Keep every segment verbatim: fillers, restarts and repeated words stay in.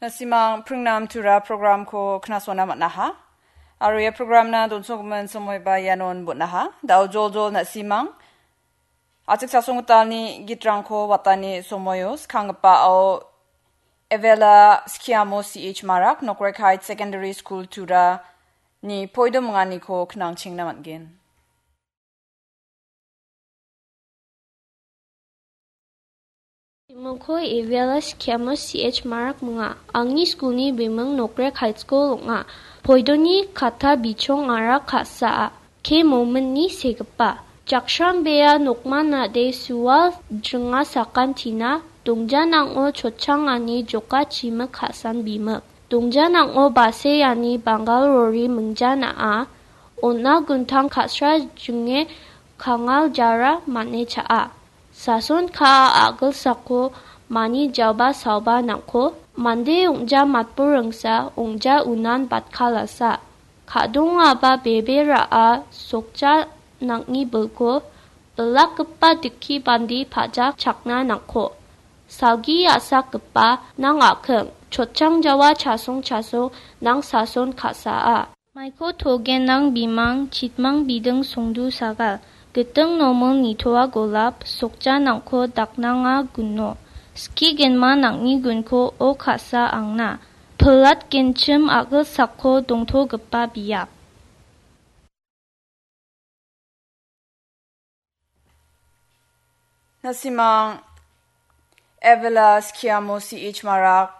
Na·simang pringnam tura programko knasona man·aha. Aro ia programna donsogimin somoiba ianon bon·aha. Da·o joljol na·simang achik sasonggitalni gitrangko watani somoio skanggipa ao Evela Skiamo C H Marak, Nokrek Heights Secondary School Tura ni poido minganiko knangchengna man·gen. Bimingko Evela Skiamo C H Marak minga. Angni skulni biming Nokrek High School ong·a. Poidoni kata bichong arak ka·saa. Ke mominni segipa. Jakshram bea nokman nade sual jringa sakantina dongjanang·o chotchangani joka chimik ka·san bimik. Dongjanang·o baseani Bangal rori mingja na·a, on·a guntang ka·sra jinge kangal jara mane cha·a. Sason ka·a a·gilsako mani jaba saoba nang·ko, mande ong·ja matburingsa ong·ja unan batkalasa. Ka·dongaba bebe ra·a sokja nang·ni bilko, bilakgipa dikki bandi pajak chakna nang·ko. Salgi a·sakgipa nang a·king, chotchang jawa chasong chasong nang sason ka·saa. Maiko togenang bimang, chitmang biding songdu sagal, giting nomil nitoa golap, sokja nang·ko daknanga guno. Ski genma nang·ni gunko o ka·sa angna. Pilat genchim a·gilsako dongtogipa biap. Na·simang Evela Skiamo C H Marak,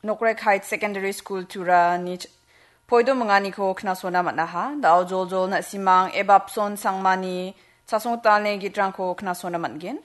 Nokrek Heights Secondary School Tura ni ch-, poido minganiko knasona man·aha. Da·o joljol na·simang Ebapson Sangmani chasonggitalni gitrangko knasona man·gen.